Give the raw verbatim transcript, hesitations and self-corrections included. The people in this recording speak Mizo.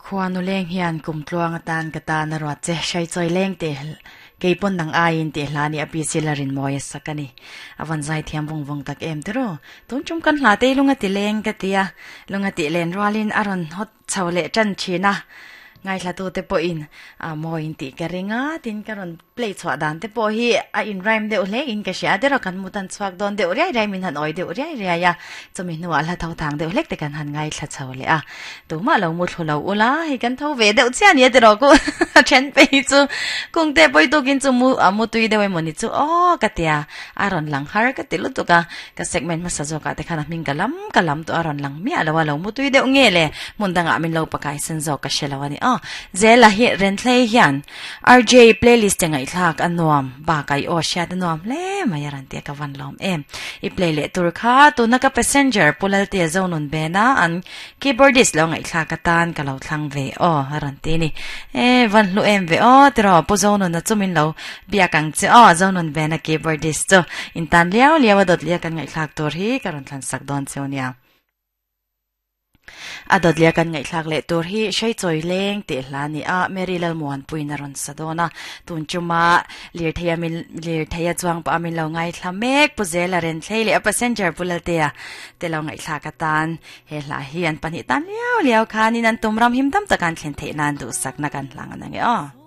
Khuanu leng hian kum tluang atan ka ta na ruat che shai choi leng te keipon nang aiin te hlani api silarin moya sakani awan zai thiam vung vung tak em tero tun chum kan hla te lunga ti leng ka tia lunga ti len rualin aron hot chawle chan china ngai thla tu te po in a moin ti ka ringa tin karon play chwa dan te po hi a in rhyme deuh hle in ka sia te ro kan mutan chuak don deuh riai riai min han oi deuh riai riai ya chumi hnuah hla tho thang deuh hlek te kan han ngai thla chho le a tuma lo mu thlu lo ula hi kan tho ve deuh chia ni te ro ku then pe chu kung te poi to kin chu mu a mu tui deuh moni chu o ka tia aron lang har ka ti lu tu ka ka segment ma sa zo ka te khana ming kalam kalam to aron lang mi alawa lo mu tui deuh nge le mun danga min lo pakai sen zo ka shelawani o zela hi ren thlei hian R J playlist te ngai thlak anuam ba kai o sha anuam le mayaran te ka van lom em i play le tur kha tuna ka passenger pulal te zonun bena an keyboardist lo ngai thlak atan ka lo thlang ve o haran te ni e van lu em ve o tro pu zonun na chumin lo bia kang che o zonun bena keyboardist chu in tan liao liao dot lia kan ngai thlak tur hi karon thlan sak don cheunia adot lia kan ngai thlak le tur hi shei choi leng te hlani a Mary Lal Muan puina ron sadona tun chuma lir theia min lir theia chuang pa min lo ngai thlamek puzela ren thlei le a passenger pulatea te lo ngai thlak atan he hla hi an pani tan liao liao khanin an tumram him dam takan thlen the nan du sak na kan hlang anang e o.